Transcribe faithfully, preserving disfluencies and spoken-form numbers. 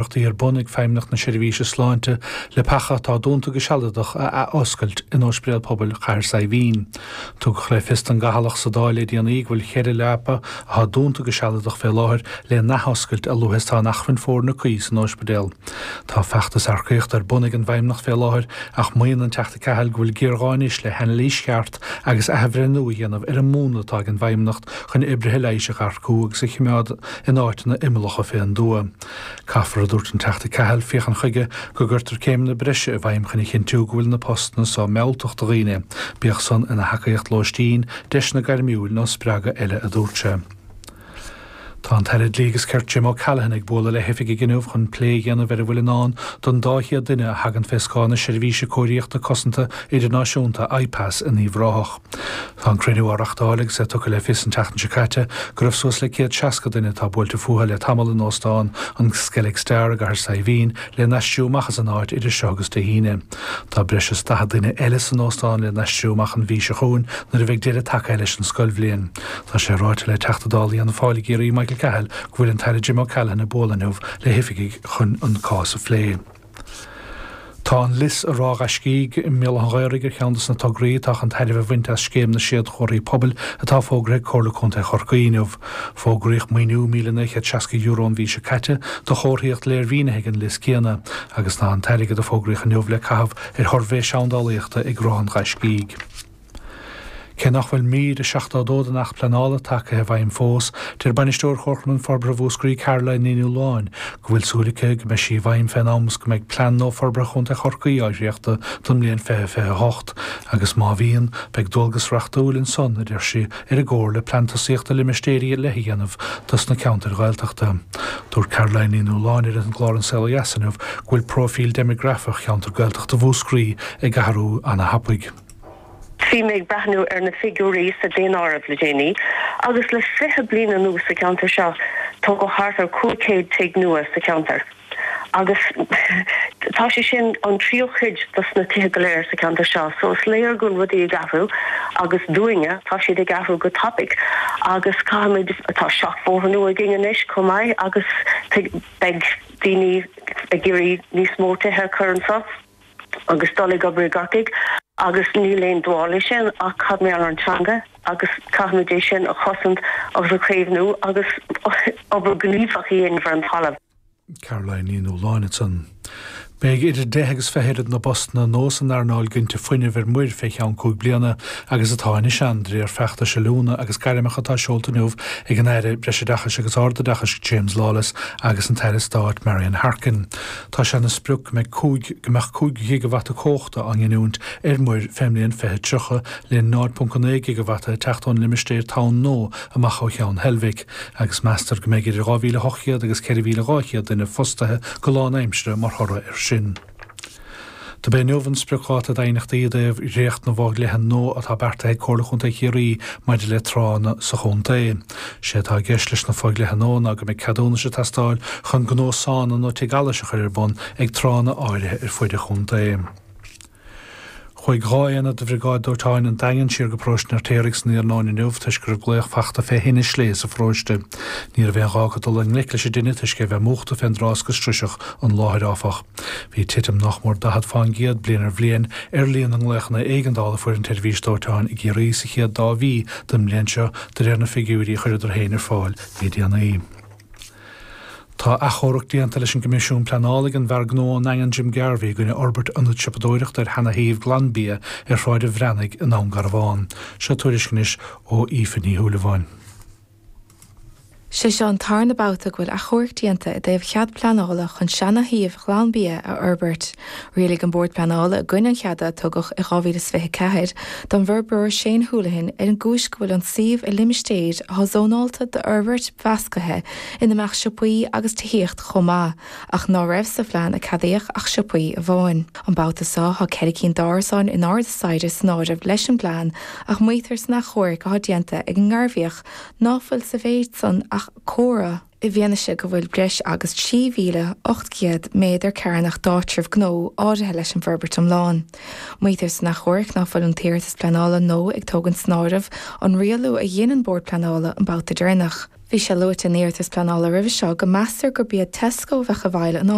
Iarrachtaí ar bun ag Feidhmeannacht na Seirbhíse Sláinte le leapacha atá dúnta go sealadach a athoscailt in Ospidéal Pobail Chathair Saidhbhín. Tugadh le fios don gCathalach sa Dáil le déanaí go bhfuil ceithre leapa atá dúnta go sealadach fé láthair le n-athoscailt a luaithe is atá an acmhainn foirne cuí san ospidéal. Tá feachtas earcaíochta ar bun ag an bhFeidhmeannacht fé láthair ach maíonn an Teachta Cahill go bhfuil géarghá anois le hanailís cheart agus athbhreithniú a dhéanamh ar an múnla atá ag an bhFeidhmeannacht chun oibrithe leighis a earcú agus a choimeád in áiteanna imeallacha fén dtuath. Caithfear a dúirt an Teachta Cahill féachaint chuige go gcuirtear céimeanna breise i bhfeidhm chun a chinntiú go bhfuil na postanna seo mealltach do dhaoine, bíodh san ina thacaíocht lóistín, deiseanna gairmiúil nó spreagadh eile a dúirt sé. Tá an tAire Dlí agus Cirt Jim O'Callaghan ag bualadh le hoifigigh inniu chun plé a dhéanamh ar a bhfuil i ndán don dá chéad duine a thagann fé scáth na seirbhíse cóiríochta cosanta idirnáisiúnta IPAS in Uíbh Ráthach. Tá an cruinniú á reáchtáil agus é tugtha le fios an tseachtain seo caite go raibh suas le céad seasca duine atá buailte fúthu le tamall in óstán an Skellig Star i gCathair Saidhbhín le n-aistriú amach as an áit idir seo agus Dé hAoine. Tá breis is daichead duine eile san óstán le n-aistriú amach an mhí seo chugainn nuair a bheidh deireadh tagtha leis an scoilbhliain. Tá sé ráite le Teachta Dála Fhianna Fáil i gCiarraí Michael Cahill go bhfuil an tAire Jim O'Callaghan ag bualadh inniu le hoifigigh chun an cás a phlé. Tá an Lios i Ráth Ghaiscígh i mBéal Átha an Ghaorthaidh ar cheann de na tograí atá chun tairbhe a bhaint as scéim na séadchomharthaí pobail atá fógartha ag Comhairle Contae Chorcaí inniu. Fógraíodh maoiniú míle naoi chéad seasca euro an mhí seo caite do chomharthaíocht léirmhínithe ag an Lios céanna, agus tá an t-airgead a fógraíodh inniu le caitheamh ar shuirbhé seandálaíochta ag Ráth an Ghaiscígh. Cé nach bhfuil mír a seachtó a dó den Acht Pleanála tagtha i bhfeidhm fós, deir bainisteoir Chomharchumann Forbartha Mhúscraí Caroline Ní Nualláin go bhfuil súil aici go mbeidh sí i bhfeidhm fén am is go mbeidh plean nua forbartha Chontae Chorcaí á dhréachtadh don mbliain fiche fiche a hocht, agus má bhíonn, beidh dualgas reachtúil ansan, a deir sí, ar an gComhairle plean tosaíochta limistéirí ar leith a dhéanamh dos na ceantair Ghaeltachta. Dúirt Caroline Ní Nualláin ar an gclár An Saol Ó Dheas inniu go bhfuil próifíl deimeagrafach cheantar Gaeltachta Mhúscraí ag athrú ana-thapaidh. Bhí mé ag breathnú ar na figiúirí sa daonáireamh le déanaí agus le fiche bliain anuas sa cheantar seo tógadh thart ar cúig chéad tigh nua sa cheantar agus tá sé sin an tríú cuid dos na tithe go léir sa cheantar seo so is léir go bhfuil rudaí ag athrú agus dúinne tá siad ag athrú go tapaidh agus caithfimid tá seachbhóthar nua againn anois chomh maith agus beidh daoine ag iarraidh níos mó tithe a chur anseo. agus dul ag obair i gCorcaigh agus níl aon dua leis sin ach cad mar gheall ar an teanga agus caithfimid é sin a chosaint agus a chaomhnú agus obair ghníomhach a dhéanamh ar an talamh. Caroline Ní Nualláin ansan. Beidh idir deich agus fiche oiread na bpostanna nua san earnáil ginte fuinnimh ar muir fé cheann cúig bliana agus atá anois ann, de réir feachtais oiliúna agus gairmeacha atá seolta inniu ag an Aire Breisoideachais agus Ardoideachais James Lawless agus an tAire Stáit Marian Harkin. Tá sé ina sprioc go mbeidh cúig go mbeadh cúig ghigeavata cumhachta á nginiúint ar muir fén mbliain fiche tríocha, le náid ponc a naoi gigeavata ag teacht ón limistéar Tonn Nua amach ó Cheann Heilbhic, agus meastar go mbeidh idir dhá mhíle ocht gcéad agus ceithre mhíle dhá chéad duine fostaithe go lánaimseartha mar thoradh air sin. Do b'é inniu an spriocdháta d'aighneachtaí i dtaobh dhréacht na bhfo-dhlíthe nua atá beartaithe ag Comhairle Chontae Chiarraí maidir le tránna sa chontae. Sé atá i gceist leis na fo-dhlíthe nua ná go mbeidh ceadúnais ag teastáil chun gnó sána nó tigh allais a chur ar bun ag tránna áirithe ar fuid an chontae. Chuaigh dhá aonad de Bhriogáid Dóiteáin an Daingin siar go paróiste an Fheirtéaraigh san iarnóin inniu toisc go raibh glaoch fachta fé thine slé sa pharóiste. Ní raibh aon ghá acu dul i ngleic leis an dtine toisc é bheith múchta fén dtráth is go sroiseadh an láthair, áfach. Bhí titim nach mór daichead fán gcéad bliain ar bhliain ar líon na nglaochanna éigeandála a fuair an tseirbhís dóiteáin i gCiarraí sa chéad dá mhí den mbliain seo de réir na figiúirí a chuireadar féin ar fáil le déanaí. Tá achomharc déanta leis an gCoimisiún Pleanála ag an bhfear gnó ón nDaingean Jim Garvey i gcoinne fhorbairt ionad siopadóireachta ar sheana-shuíomh Glanbia ar Shráid an Bhreathnaigh i nDún Garbhán. Seo tuairisc anois ó Aoife Ní Shúilleabháin. Sé seo an tarna babhta go bhfuil achomharc déanta i dtaobh chead pleanála chun seana-shuíomh Ghlanbia a fhorbairt. Rialaigh an Bord Pleanála i gcoinne an cheada a tugadh i dhá mhíle is fiche a ceathair don bhforbróir Shane Houlihan ar an gcúis go bhfuil an suíomh i limistéir atá zónáilte d'fhorbairt mheascaithe ina mbeadh siopaí agus tithíocht chomh maith, ach ná raibh sa phlean a ceadaíodh ach siopaí amháin. An babhta seo tá ceithre cinn d'árasáin in airde staighre san áireamh leis an bplean ach maítear san achomharc atá déanta ag an nGairbhíoch ná fuil sa mhéid san ach comhartha, i bhfianaise go bhfuil breis agus trí mhíle ocht gcéad méadar cearnach d'áitreabh gnó áirithe leis an bhforbairt iomlán. Maítear san achomharc ná fuil an t-iarratas pleanála nua ag tógaint san áireamh an rialú a dhein an Bord Pleanála an babhta deireanach. Bhí sé luaite in iarratas pleanála roimhe seo go meastar gurb iad Tesco a bheadh i bhfeighil an